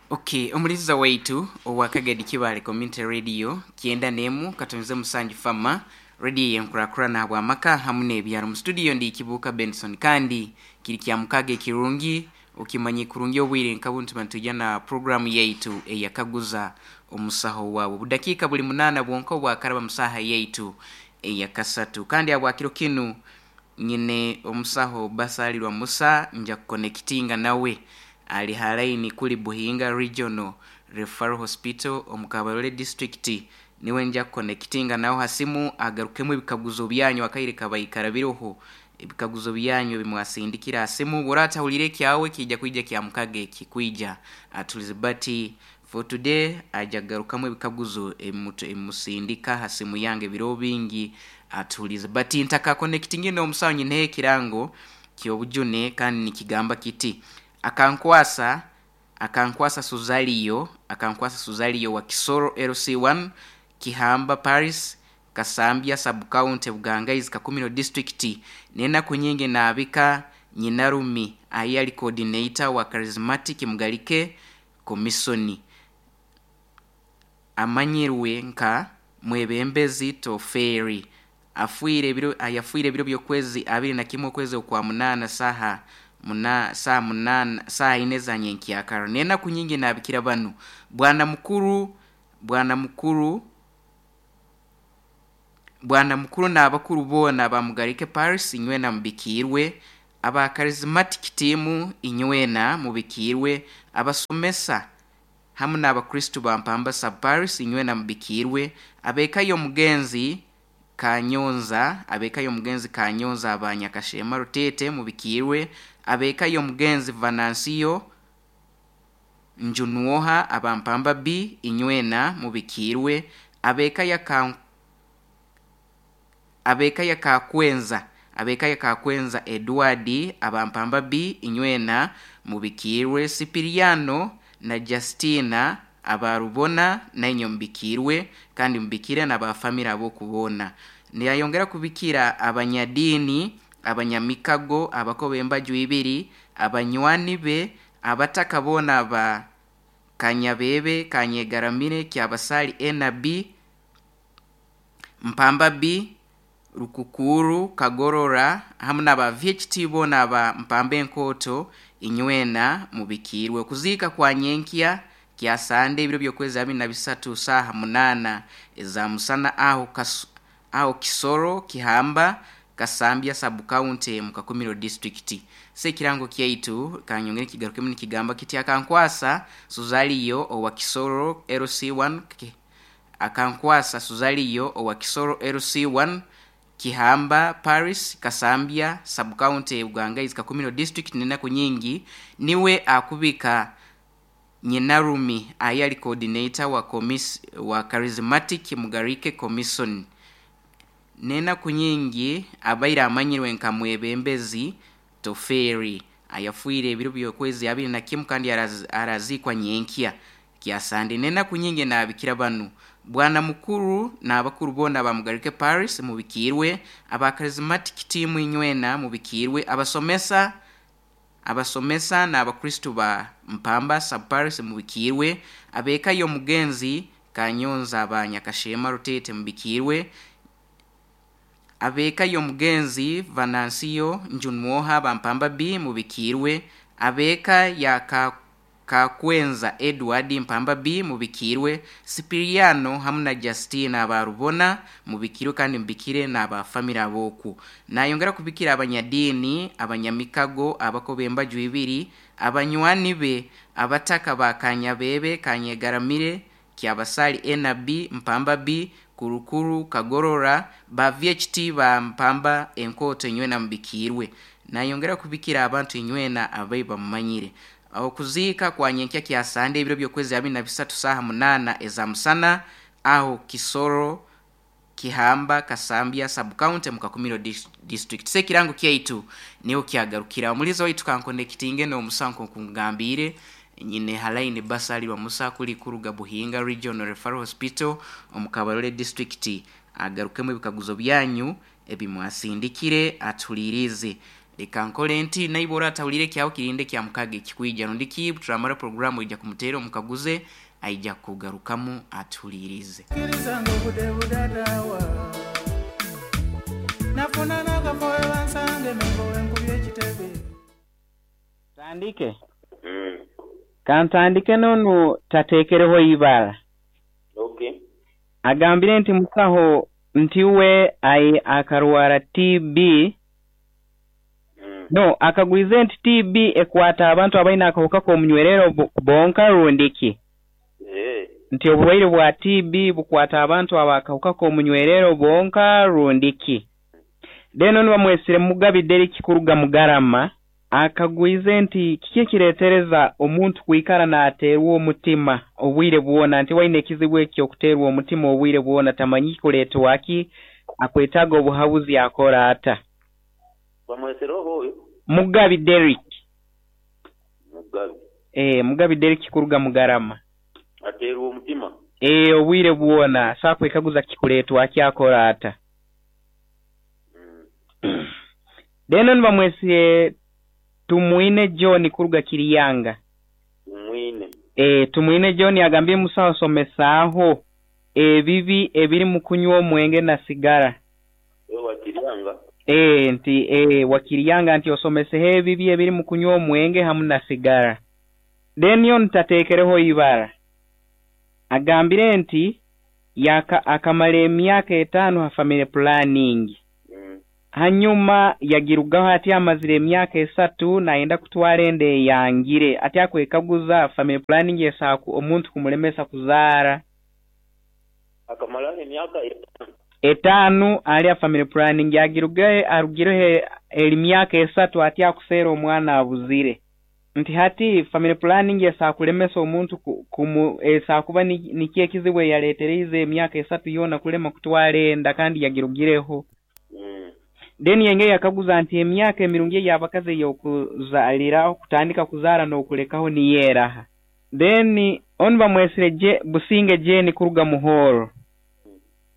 Okay, omuliza waitu owa Kagadi Kibale Community Radio 91.7 Fama radio yenkurakurana habw'amaka hamu n'ebyaro. Mu studio ndi Kibuuka Benson, kandi kiri kya mukaga ekirungi okimanyi kurungi obwire nka buntu nitujya na programu yaitu eyakaguza omusaho wawe. Budakiika buli 8 bwonka obwakaraba musaha yaitu eyakasatu, kandi habwakiro kinu nyine omusaho Basalirwa Musa, nja kukonekitinga nawe ali halaini kuli Buhinga Regional Referral Hospital omu Kabarole District. Niwe nja kukonekitinga nawe ha simu agarukemu ebikaguzo byanyu akaire kabaikara biroho ebikaguzo byanyu ebimwasindikira ha simu. Bw'oratahulire ekyawe kijja kwija kya mukaga eki kwija atulize, but for today aja kugarukamu ebikaguzo ebimusindika ha simu yange biro bingi atulize. But ntakakonekitingire n'omusaho, nyineho ekirango ky'obujune kandi nikigamba kiti: akankwasa Suzaliyo, akankwasa Suzaliyo wa Kisoro LC1, Kihamba Paris, Kasambya Sub-County, Bugangaizi, Kakumiro District, n'enaku nyingi naabika nyinarumi ayi ali coordinator wa Charismatic Mugalike Commission, amanyirwe nka mwebembezi Toferi, afuire ebiro ayafuire ebiro by'okwezi 21 okwezi okwa 8, saha muna saa 8, saa 4 za nyenkyakara. N'enaku nyingi naabikira banu: bwana mukuru, bwana mukuru, bwana mukuru n'abakuru boona bamugarike Paris, inywena mubikiirwe; aba Charismatic team, inywena mubikiirwe; abasomesa hamu n'abakristu ba Mpamba Sub Paris, inywena mubikiirwe; ab'eka y'omugenzi Kanyonza, ab'eka y'omugenzi Kanyonza abanyakashema Rutete, mubikiirwe; ab'eka y'omugenzi Venansiyo Njunwoha aba Mpamba B, inywena mubikiirwe; ab'eka ya Kakwenza, ab'eka ya Kakwenza Edward aba Mpamba B, inywena mubikiirwe; Sipiriano na Justina abarubona, nainyo mubikiirwe, kandi mubikire n'abafamire ab'okubona. Nayongera kubikira abanyadiini, abanyamikago, abakoba embaju ibiri, abanywani be, abataka boona ba Kanyabebe, Kanyegaramire, Kyabasali NB, Mpamba B, Rukukuru, Kagorora, hamu n'aba VHT boona aba Mpamba Enkoto, inywena mubikiirwe. Okuziika kwa nyenkya kya Sande ebiro by'okwezi 23 saaha 8 eza musana aho Kisoro, Kihamba, Kasambya Sub-County, mu Kakumiro District. Se ekirango kyaitu kanyongere kigarukemu nikigamba kiti: akankwasa Suzaliyo owa Kisoro LC1, akankwasa Suzaliyo owa Kisoro LC1, Kihamba Paris, Kasambya Sub-County, Bugangaizi, Kakumiro District, n'enaku nyingi niwe akubika nyinarumi ayi ali coordinator wa Charismatic Mugarike Commission, n'enaku nyingi abaire amanyirwe nka mwebembezi Toferi, ayafuire ebiro by'okwezi 21 kandi arazikwa nyenkya kya Sande. N'enaku nyingi naabikira banu: bwana mukuru n'abakuru boona bamugarike Paris, mubikiirwe; aba Charismatic team, inywena mubikiirwe; abasomesa n'abakristu ba Mpamba Sub Paris, mubikiirwe; ab'eka y'omugenzi Kanyonza aba Nyakashema Rutete, mubikiirwe; ab'eka y'omugenzi Venansiyo Njunwoha ba Mpamba B, mubikiirwe; ab'eka ya Kakwenza Edward, Mpamba B, mubikiirwe; Sipiriano hamu na Justina abarubona, mubikirwe, kandi mubikire n'abafamire ab'oku. Nayongera kubikira abanyadiini, abanyamikago, abakoba embaju ibiri, abanywani be, abataka ba Kanyabebe, Kanyegaramire, Kyabasali NB, Mpamba B, Kurukuru, Kagorora, ba VHT ba Mpamba Enkoto, inywena mubikiirwe. Nayongera kubikira abantu inywena abai bamumanyire. Okuziika kwa nyenkya kya Sande ebiro by'okwezi 23 saaha 8 eza musana aho Kisoro, Kihamba, Kasambya Sub-County, mu Kakumiro District. Se ekirango kyaitu niho kyagarukira. Omulizo waitu kankonekitinge n'omusaho nk'okungambiire nyine halaini Basalirwa Musa kuli kuruga Buhinga Regional Referral Hospital omu Kabarole District, agarukemu ebikaguzo byanyu ebimwasindikire atuhulirize. Leka nkole nti naiwe oratahulire kyawe kirinde kya mukaga ekikwija rundi ki turamara programu ija kumuteera omukaguze aija kugarukamu atuhulirize. Kirizanga obudde budadawa nafuna n'akafo we bansange mengo wenkubye ekitebe. Tandike. Kantandike nonu tatekereho ibara. Okay. Agambire nti musaho nti we ai akarwara TB. No, akagwize nti TB ekwata abantu abaina akahuka k'omunywerero bonka rundiki. Nti oburwaire bwa TB bukwata abantu abakahuka k'omunywerero bonka rundiki. Then onu bamwesire Mugabi Derek kuruga Mugarama akagwize nti kiki ekireetereza omuntu kwikara n'ateerwa omutima obwire bwona, nti waine ekizibu ekyo okuteerwa omutima obwire bwona tamanyi kuleetwaki, akwetaaga obuhabuzi akora ata. Bamwesereho oyo? Mugabi Derek. Mugabi. Mugabi Derek kuruga Mugarama. Ateerwa omutima? Obwire bwona asobola kwekaguza kikuleetwaki akora ata. Then onu bamwesire Tumwine John kuruga Kiriyanga. Tumwine. Tumwine John agambye musaho somesaaho ebibi ebiri mu kunywa omwenge na sigara. Wa Kiriyanga? Nti wa Kiriyanga nti osomeseho ebibi ebiri mu kunywa omwenge hamu na sigara. Then yo ntatekereho ibara. Agambire nti akamara emyaka 5 ha family planning. Hanyuma yagirugaho ati amazire emyaka 3 naenda kutwara enda eyangire ati akwekaguza family planning esaku omuntu kumulemesa kuzaara. Akamara emyaka 5 ali family planning yagirugaye arugireho emyaka 3 ati akusera omwana abuzire. Nti hati family planning esakulemesa omuntu esakuba nikiye ekizibu yaletereize emyaka 3 yona kulema kutwara enda kandi yagirugireho. Then yenge yakaguza nti emyaka emirungi y'abakazi ey'okuzaalira kutandika kuzaara n'okulekaho niyeraha. Then onu bamwesire Businge Jane kuruga Muhoro.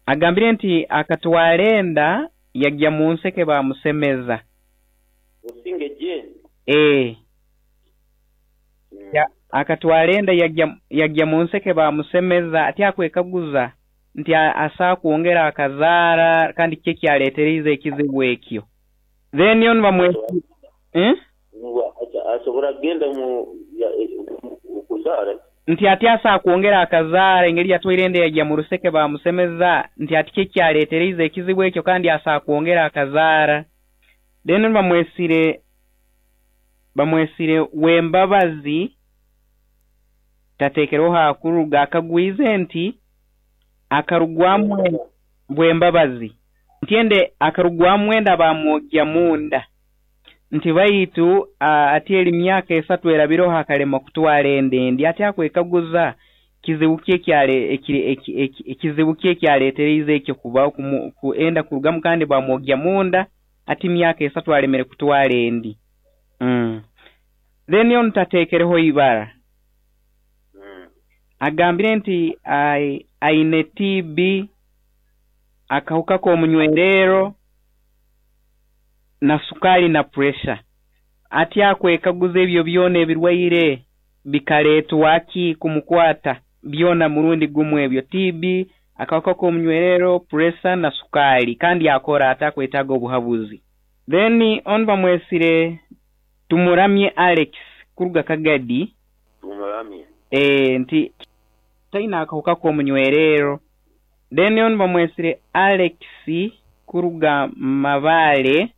Agambire nti akatwara enda yajya mu nseke bamusemeza. Businge Jane? Akatwara enda yajya mu nseke bamusemeza ati akwekaguza nti asaa kwongera akazaara kandi kiki ekyaleetereize ekizibu ekyo. Then onu bamwe asobora kugenda mu kuzaara nti ati asaa kwongera akazaara engeri yatwaire enda yajya mu ruseke bamusemeza nti ati kiki ekyaleetereize ekizibu ekyo kandi asaa kwongera akazaara. Then onu bamwesire Wembabazi tatekereho hakuruga akagwize nti akarugwamu Bwembabazi ntiende akarugwamu enda bamwogya munda nti baitu ati eri myaka 3 erabiroho akalema kutwara enda endi ati akwekaguza kizibu ki ekyaleetereize ekyo kuba enda kurugamu kandi bamwogya munda ati myaka 3 alemere kutwara endi. Then yo ntatekereho ibara. Agambire nti aine TB akahuka k'omunywerero na sukari na pressure. Ati akwekaguza ebyo byona ebirwaire bikaletwaki kumukwata byona murundi gumu ebyo TB akahuka k'omunywerero pressure na sukari kandi akora atakwetaaga obuhabuzi. Then onu bamwesire Tumuramye Alex kuruga Kagadi. Tumuramye. Nti taina akahuka k'omunywerero. Then onu bamwesire Alex kuruga Mabale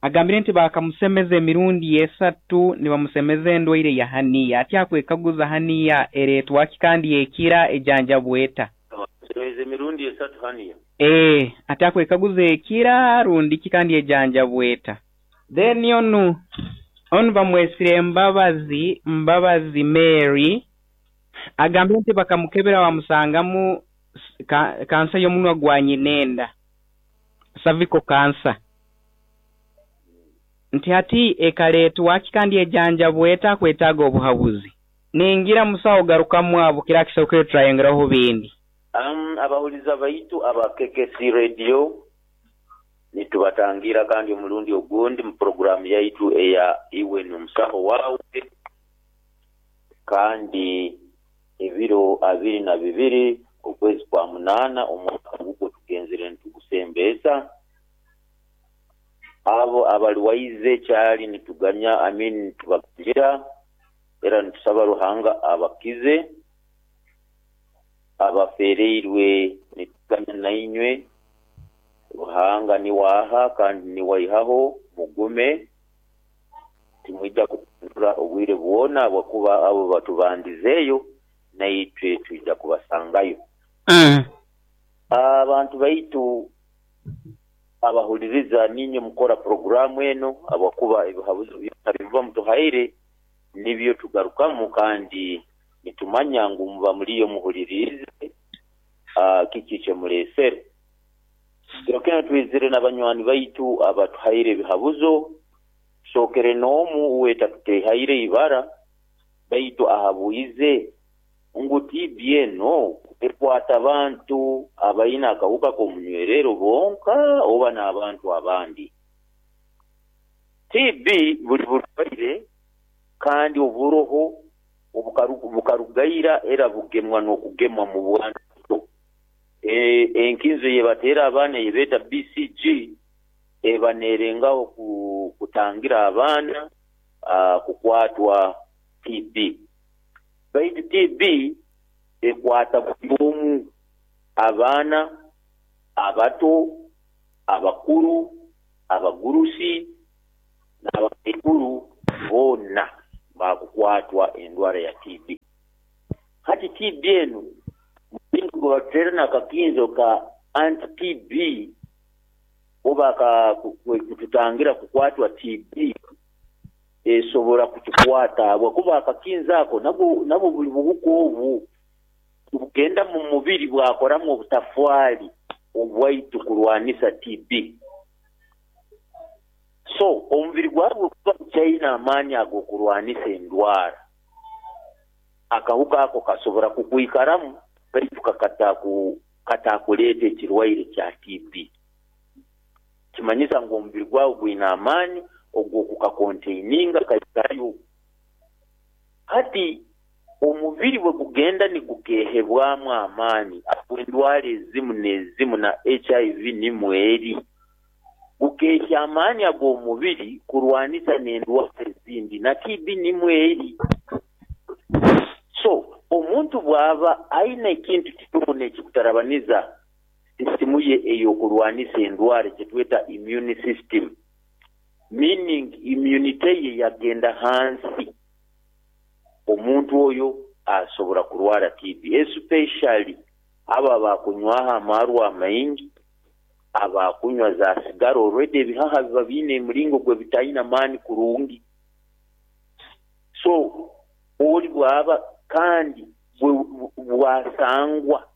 agambire nti bakamusemeza emirundi 3 nibamusemeza endwaire ya haniya ati akwekaguza haniya ereetwaki kandi ekira ejanja bweta. Bamusemeza emirundi 3 haniya. Ati akwekaguza ekira rundiki kandi ejanja bweta. Then onu bamwesire Mbabazi Mary agambire nti bakamukebera bamusangamu kansa y'omunwa gwa nyinenda, cervical cancer. Nti hati ekaleetwaki kandi ejanja bweta kwetaaga obuhabuzi. Ningira musawo garukamu abo kira kisokere turayongeraho bindi. Abahuliza baitu aba KKC Radio Nitubatangira kandi omulundi ogundi mu puroguramu yaitu eya Iwe n'Omusaho Waawe, kandi ebiro 22 okwezi kwa 8 omwaka gugwo tugenzere nitugusembeesa. Abo abarwaize kyali nituganya, nitubagira era nitusaba Ruhanga abakize. Abafereirwe nituganya nainywe, Ruhanga niwe aha kandi niwe aihaho, mugume, timwija kutuntura obwire bwona habwokuba abo batubandizeeyo naitwe twija kubasangayo. Abantu baitu abahuliriza niinywe mukora puroguramu eno habwokuba ebihabuzo byona byemuba mutuhaire nibyo tugarukamu kandi nitumanya ngu muba muliyo muhuliriize kiki kyemuleesere. Kiro kinu twizire n'abanywani baitu abatuhaire ebihabuzo, tusookere n'omu uwe tatutehaire ibara baitu ahabwize ngu TB eno ekwata abantu abaine akahuka k'omunywerero bonka oba n'abantu abandi. TB buli burwaire kandi oburoho bukarugaira era bugemwa n'okugemwa mu bwana buto. Enkinzo eyebateera abaana eyebeeta BCG eba neerengaho kutangira abaana kukwatwa TB. Baitu TB ekwata buli omu, abaana, abato, abakuru, abagurusi n'abakaikuru boona baakukwatwa endwara ya TB. Hati TB enu mulingo gwe batuteera n'akakinzo ka anti-TB oba kututangira kukwatwa TB esobora kutukwata habwokuba akakinzo ako nabwo buli buhuka obu bugenda mu mubiri bwakoramu obutafwali obwaitu kurwanisa TB. So omubiri gwawe guba gukyaine amaani ag'okurwanisa endwara, akahuka ako kasobora kukwikaramu baitu katakuleeta ekirwaire kya TB. Kimanyisa ngu omubiri gwawe gwine amaani ogw'okukakonteininga kaikarayo. Hati omubiri bwe gugenda nigukehebwamu amaani endwara ezimu n'ezimu na HIV nimwo eri, gukehya amaani ag'omubiri kurwanisa n'endwara ezindi na TB nimwo eri. So omuntu bw'aba aine ekintu kyona ekikutarabaniza sisitimu ye ey'okurwanisa endwara kyetweta immune system, meaning immunity ye yagenda hansi, omuntu oyo asobora kurwara TB, especially abo abakunywaho amarwa amaingi, abakunywa za sigara already ebihaha biba biine emiringo gwe bitaine amaani kurungi. So oli bw'aba kandi bwasangwa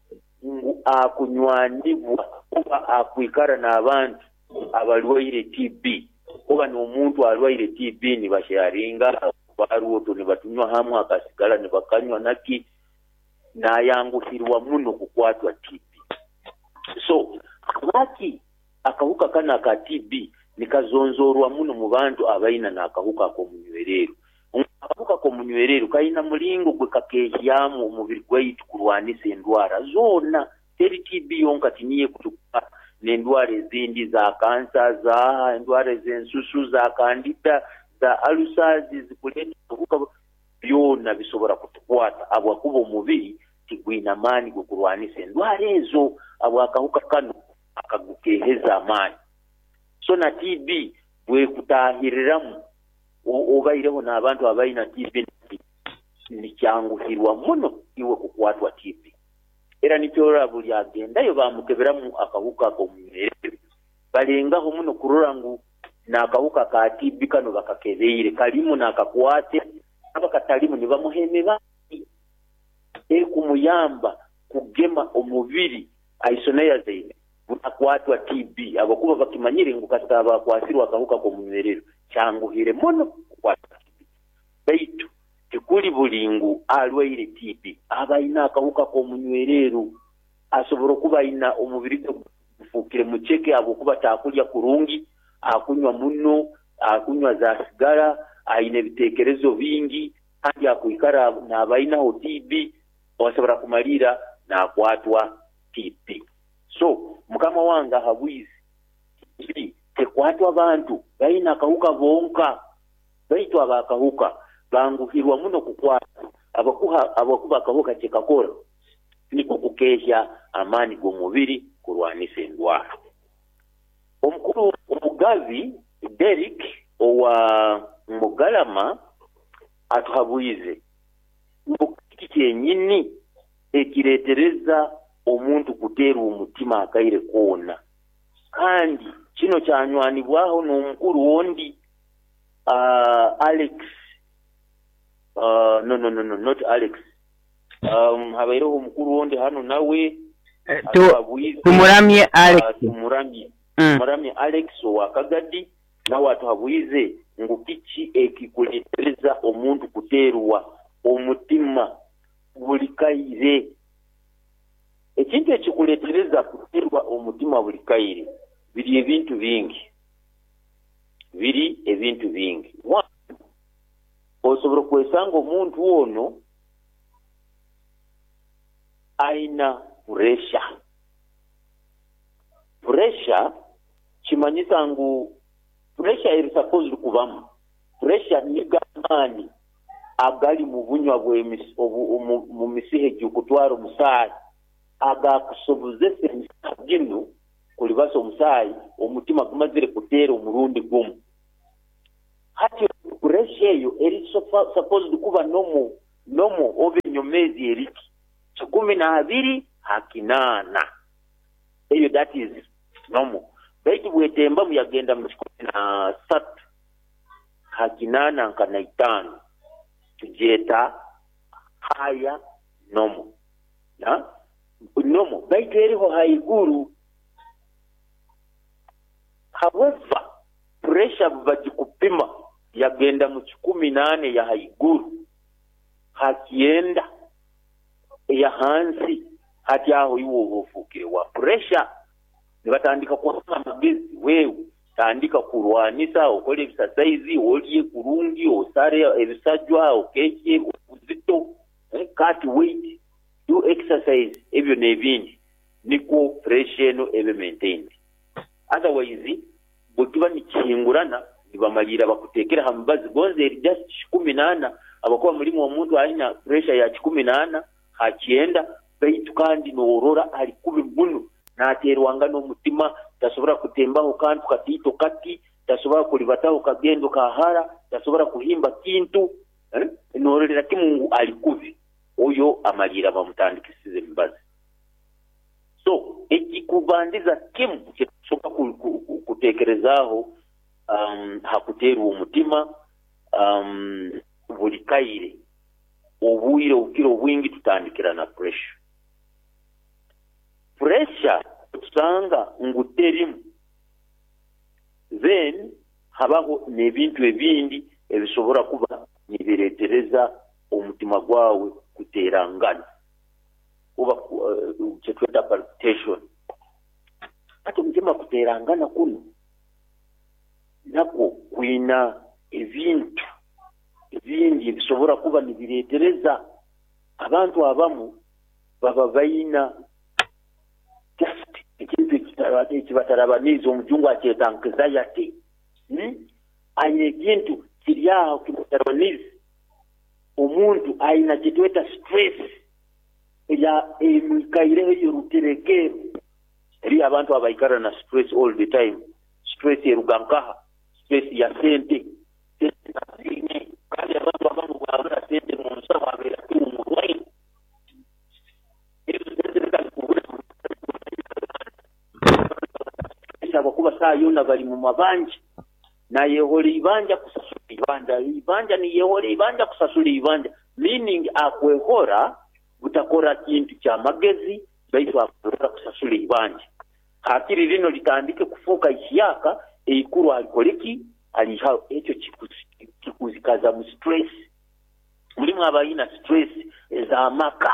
ngu akunywanibwa oba akwikara n'abantu abarwaire TB oba n'omuntu arwaire TB nibasharinga barwoto nibatunywa hamwe akasigara nibakanywa naki, nayanguhirwa muno kukwatwa TB. So lwaki akahuka kano aka TB nikazonzorwa muno mu bantu abaina n'akahuka ak'omunywerero? Akahuka k'omunywerero kalina mulingo gwe kakehyamu omubiri gwaitu kurwanisa endwara zoona. Teri TB yonka tiniyo ekutukwata, n'endwara ezindi za kansa, za endwara ez'ensusu, za kandida, za ulcers zikuleeta obuhuka byona bisobora kutukwata habwokuba omubiri tigwina maani g'okurwanisa endwara ezo habw'akahuka kano akagukeheza amaani. So na TB bwekutahiriramu obaireho n'abantu abaina TB nikyanguhirwa muno iwe kukwatwa TB. Era nikyo buli agendayo bamukeberamu akahuka ak'omunywerero, balengaho muno kurora ngu n'akahuka ka TB kano bakakebeire kalimu n'akakwate, aba katalimu nibamuha emibazi ekumuyamba kugema omubiri isoniazid butakwatwa TB, habwokuba bakimanyire ngu kasita bakwasirwe akahuka k'omunywerero kyanguhire muno kukwatwa TB. Baitu tikuli buli ngu arwaire TB aba aine akahuka k'omunywerero, asobora okuba aina omubiri gwe Gufukire mucheke habwokuba takulya kurungi, akunywa muno, akunywa za sigara, aine ebiteekerezo bingi, kandi akwikara n'abainaho TB, osobora kumalira n'akwatwa TB. So mukama wange ahabwizi, TB tekwatwa abantu baine akahuka bonka, baitu abakahuka banguhirwa muno kukwatwa abakuba akahuka kyekakora niko kukehya amaani g'omubiri kurwanisa endwara. Omukuru Omugabi Derrick owa Mugalama atuhabwize ngu kiki kyenyini ekireetereza omuntu kuteerwa omutima akaire koona, kandi kino kyanywanibwaho n'omukuru ondi Alex, no not Alex, habaireho omukuru ondi hano nawe Tumuramye Alex. Tumuramye Alex owa Kagadi nawe atuhabwize ngu kiki ekikuleetereza omuntu kuteerwa omutima buli kaire. Ekintu ekikuleetereza kuteerwa omutima buli kaire biri ebintu bingi. Biri ebintu bingi. One, osobola kwesanga omuntu ono aina pressure. Pressure kimanyisa ngu pressure eri supposed kubamu. Pressure nigo amaani agali mu bunywa mu misiha egikutwara omusaayi agakusobozesa emisiha ginu kulibasa omusaayi omutima gumazire kuteera omurundi gumu. Hati pressure eyo eri supposed kuba nomo oba enyomezi eriki 12 ha 8, eyo that is normal. Baitu bwetembamu yagenda mu 13 ha 8 nka na 5, tugyeta higher normal. Normal baitu eriho haiguru. However, pressure bagikupima yagenda mu 18 ya haiguru ha 9 ya hansi, hati aho iwe oba ofuukire wa pressure. Nibatandika kuha amagezi, wewe tandika kurwanisa, okole exercise, olye kurungi, osare ebisajwa, okekye obuzito, cut weight, do exercise, ebyo n'ebindi nikwo pressure eno ebe maintained. Otherwise bwekiba nikihingurana nibamalira bakutekera ha mubazi gonze eri just 18, abakuba mulimu omuntu alina pressure ya 18 ha 9, baitu kandi noorora ali kubi muno, naterwanga n'omutima, tasobora kutembaho kantu katiito kati, tasobora kulibataho kagendo kahara, tasobora kuhimba kintu, noororera kimu ngu ali kubi, oyo amalira bamutandikisize emibazi. So ekikubandiza kimu kyetusobola kuteekerezaaho hakuteerwa omutima buli kaire obwire obukira obwingi tutandikira na pressure. Pressure tusanga ngu terimu, then habaho n'ebintu ebindi ebisobora kuba nibireetereza omutima gwawe kuterangana oba kyetweta palpitation. Ati omutima kuterangana kuno nakwo kwina ebintu ebindi ebisobora kuba nibireetereza. Abantu abamu baba baina just ekintu ekibatarabaniize, omujungu akyeta anxiety. Aine ekintu kiri aho kimutarabaniize. Omuntu aina kyetweta stress emwikaireho eyoruterekero. Eriyo abantu abaikara na stress all the time. Stress eruga nkaha? Stress ya sente. Kandi abantu abamu bwabura sente mu nsaho abeera omurwaire. Ezo sente zikazikubura abakuba saa yona bali mu mabanja, nayehola ibanja kusasula ibanja, ibanja niyehola ibanja kusasula ibanja, meaning akwehora butakora kintu kya magezi, baitu akwehora kusasula ibanja. Hakiri lino litandike kufuuka ihyaka eikuru alikoleki aliha, ekyo kikuzikaza mu stress. Mulimu abalina stress ez'amaka.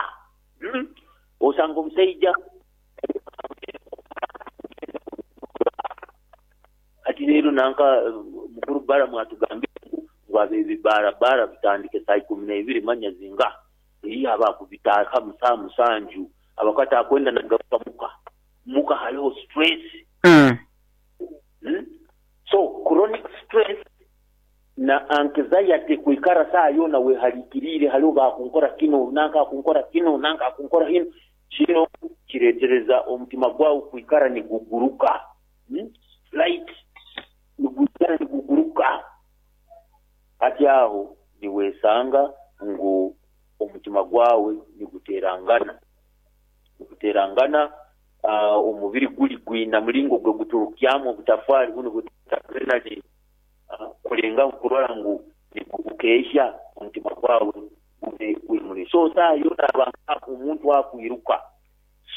Osanga omusajja Ekiro nanka mukuru Balamu atugambire ngu abebibarabara bitandike saa 12 manya zinga eriyo abakubitaka saa 7 abakati akwenda nagaruka muka haliho stress. So chronic stress na anxiety kuikara saa yona wehalikirire haliho bakunkora kino nanka akunkora kino nanka akunkora hino kino kiretereza omutima gwawe kuikara niguguruka. Flight niguikara niguguruka ati aho niwesanga ngu omutima gwawe niguterangana omubiri guli gwina mulingo gwe guturukyamu obutafari buno butadrenaline kulenga kurora ngu nigukeesha omutima gwawe gube guli so saa yona abantu omuntu akwiruka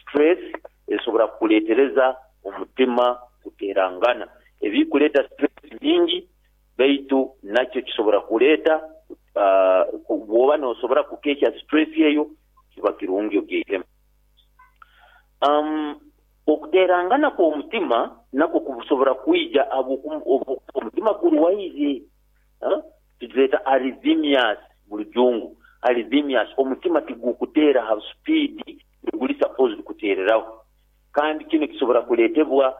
stress esobora kukuletereza omutima kuterangana. Ebikuleta stress nyingi baitu nakyo kisobora kuleta bwoba nosobora kukesha stress eyo kiba kirungi ogeihemu. Okuterangana kw'omutima nako kusobora kwija omutima gurwaire tuzeeta arrhythmias mu Rujungu. Arrhythmias omutima tigukutera ha speed guli supposed kutereraho, kandi kino kisobora kuletebwa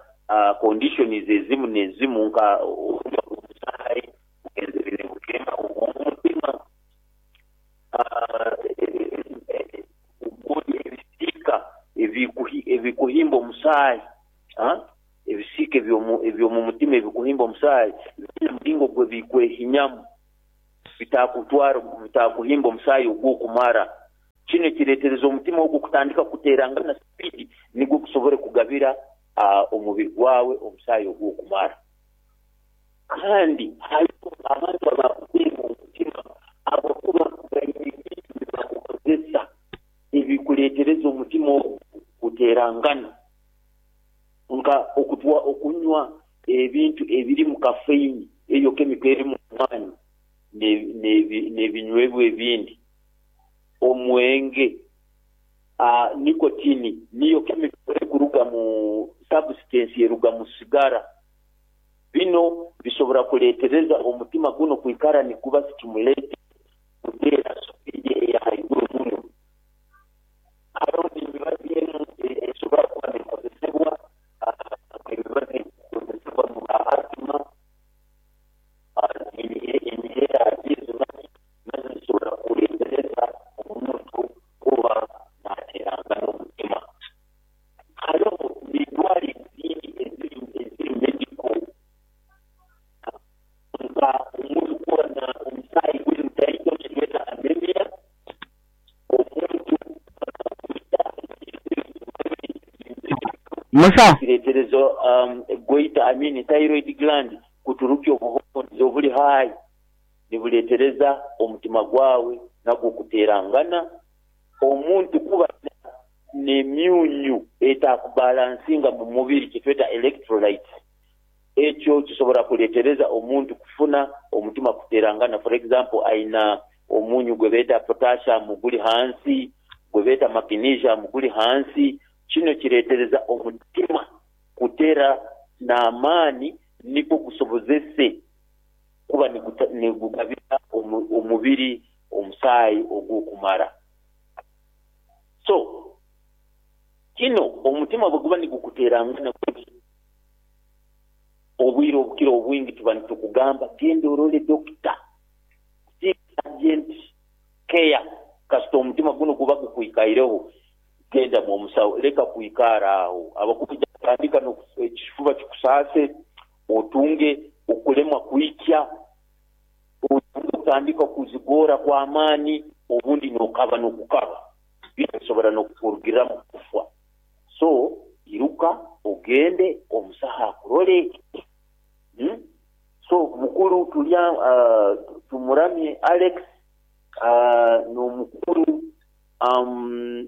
conditions ezimu n'ezimu nka omusaayi kugenzere bukemba omutima ebisiika ebikuhimba omusaayi ebisiika ebyomu mutima ebikuhimba omusaayi bina mulingo gwe bikwehinyamu bitakutwara bitakuhimba omusaayi ogw'okumara. Kino kiretereza omutima ogwo kutandika kuterangana speed nigwo kusobora kugabira omubiri gwawe omusaayi ogw'okumara. Kandi hariho abantu abakuteera omutima abakuba baine ebintu bibakukozesa ebikuleetereza omutima ogwo kuterangana, nka okunywa ebintu ebirimu kafeini eyo kemiko erimu mwani n'ebinywebwa ebindi, omwenge, nikotini niyo kemiko ekuruga mu substance eruga mu sigara. Bino bisobora kuletereza omutima guno kwikara niguba stimulated kuteera speed eya haiguru muno. Hariho n'emibazi emu esobora kuba nekozesebwa emibazi ekozesebwa mu ba asthma, emihera ezo nazo zisobora kuletereza omuntu kuba naterangana omutima. Hariho n'endwara ezindi eziri medical nka omuntu kuba na omusaayi guli mutaito kitweta anemia, omuntu Musa kireterezo goita thyroid gland kuturukya obuhonzi obuli high nibuletereza omutima gwawe nagwo kuterangana. Omuntu kuba n'emyunyu etakubalansinga mu mubiri kitweta electrolytes, ekyo kisobora kuletereza omuntu kufuna omutima kuterangana. For example, aina omunyu gwe beeta potassium guli hansi, gwe beeta magnesium guli hansi. Kino kiretereza omutima kutera n'amaani niko gusobozese kuba nigugabira omubiri omusaayi ogw'okumara. So kino omutima bwe guba nigukuterangana obwire obukira obwingi tuba nitukugamba genda orole dokita, seek urgent care. Kasita omutima guno guba gukwikaireho genda mu omusawo, leka kwikara aho. Abakuija kutandika ekifuba kikusaase, otunge okulemwa kwikya, otunge kutandika kuzigora kw'amaani, obundi n'okaba n'okukaba bisobora n'okukurugiramu kufa. So iruka ogende omusaha akurole. So mukuru tulya tumuramye Alex n'omukuru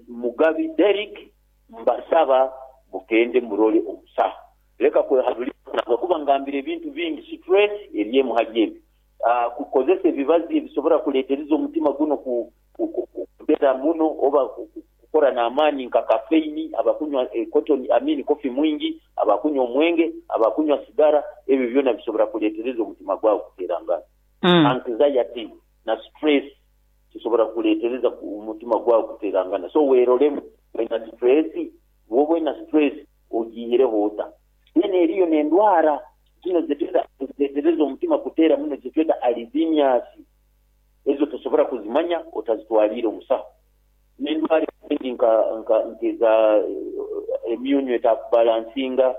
Mugabi Derrick, mbasaba mugende murole omusaha. Leka kwehabulira kuba ngambire ebintu bingi, stress eryemu hali ebyo, kukozesa ebibazi ebisobora kuletereza omutima guno kutera muno oba kukora n'amaani nka kafeini, abakunywa cotton, I mean coffee mwingi, abakunywa omwenge, abakunywa sigara, ebyo byona bisobora kuleetereza omutima gwawe kuteerangana. Anxiety na stress kisobora kuleetereza omutima gwawe kuteerangana. So weerolemu, oina stress? Bw'oba oina stress ogiihireho ota? Then eriyo n'endwara zinu ezireetereza omutima kuteera muno zetweta arrhythmias. Ezo tosobora kuzimanya otazitwaliire omusaho. N'endwara ezindi nka nk'eza emyunyu etakubalansinga,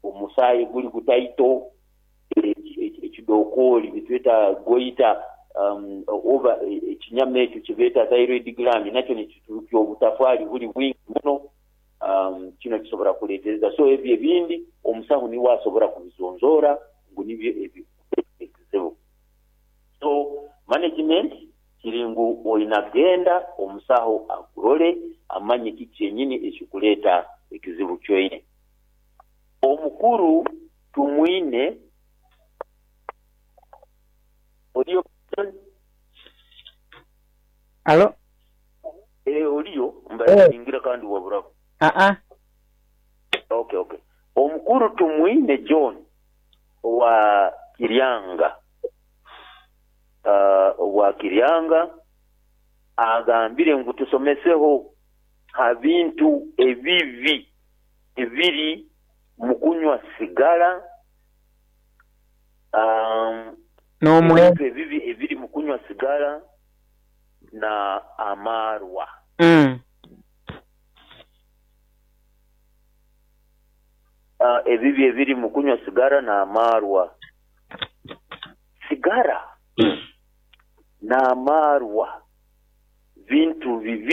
omusaayi guli gutaito, ekidokooli bitweta goita, oba ekinyama ekyo kibeeta thyroid gland nakyo nikiturukya obutafaali buli bwingi muno, kino kisobora kuleetereza. So ebyo ebindi omusaho niwe asobora kubizonzoora ngu nibyo ebikuleeta ekizibu. So management kiri ngu oina kugenda omusaho akurole amanye kiki kyenyini ekikuleeta ekizibu kyoine. Omukuru Tumwine oliyo? Alo? Oliyo? Mbaire ningira kandi waburaho. Aa. Okay. Omukuru Tumwine John owa Kiryanga. Owa Kiryanga agambire ngu tusomeseho ha bintu ebibi ebiri mu kunywa sigara, N'omwenge. ebintu ebibi ebiri mu kunywa sigara na amarwa. Ebibi ebiri mu kunywa sigara n'amarwa. Sigara n'amarwa bintu bibi.